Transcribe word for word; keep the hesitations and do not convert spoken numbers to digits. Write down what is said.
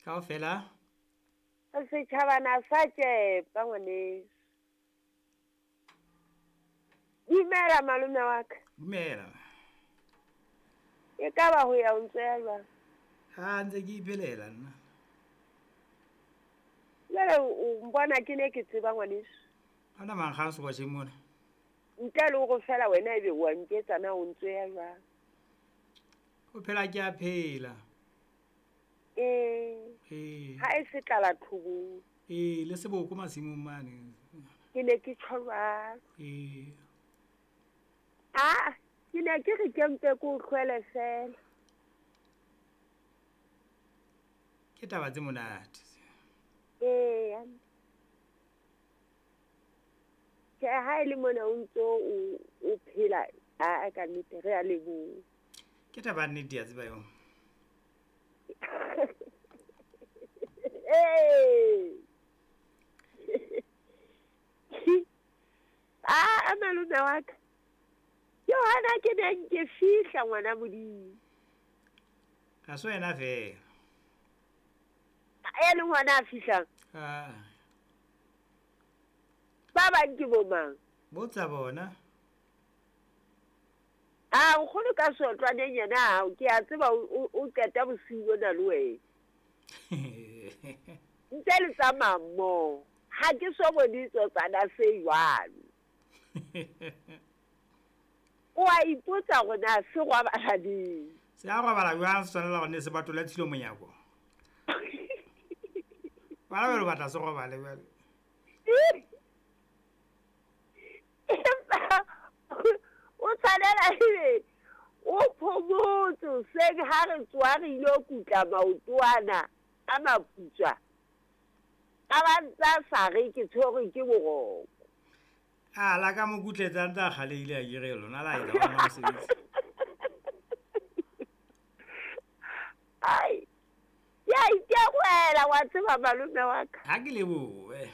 Kaofela. Setjhabana sa tšepa ngwaneso. Dumela malome wa ka. Dumela. E ka ba ho ya o ntse ya jwang? Ha ntse ke iphelela nna. Jwale o mbona ke ne ke tseba ngwaneso. Ana mankgang sekwatjheng mona. Ntle le hore fela wena ebe wa nketsa na o ntse ya jwang? O phela ke a phela. Ee. Ee. Ha e se tlala thobong. Ee, le seboko masimong mane. Ke ne ke tjho jwalo. Ee. Ah, ke ne ke re ke mpe ke o hlwele fela. Ke taba tse monate. Ee. Ke ha e le mona o ntso o o phela a ka nnete re a leboha. Ke taba nnete ya tseba eo. Ee. Ah, malome wa ka. Ke hona ke neng ke fihla ngwana Modimo. Ha se wena fela. E le ngwana a fihlang? Ah. Ba bang ke bo mang? Botsa bona. Ah, nkgono ka sotlwaneng yena ke a tseba o qeta bosiu bona le wena. Ntse le tsamaya mmoho. Ha ke so bone tsotsana se jwalo. O a ipotsa hore na se robala neng. Se a robala jwang se tshwanela hore ne se batole tshilo monyako. Bana ba batla se robale jwale. Empa o tshwanela ebe o phomotse hoseng ha re tsoha re ilo kutla maotwana a maputswa. A ba ntsa sa re ke tshwerwe ke boroko. A la ka mo kutletsa ntse a kgalehile a kere lona la etsa ona mosebetsi. Ai. Ya itewela wa tseba malome wa ka. Ha ke lebohe.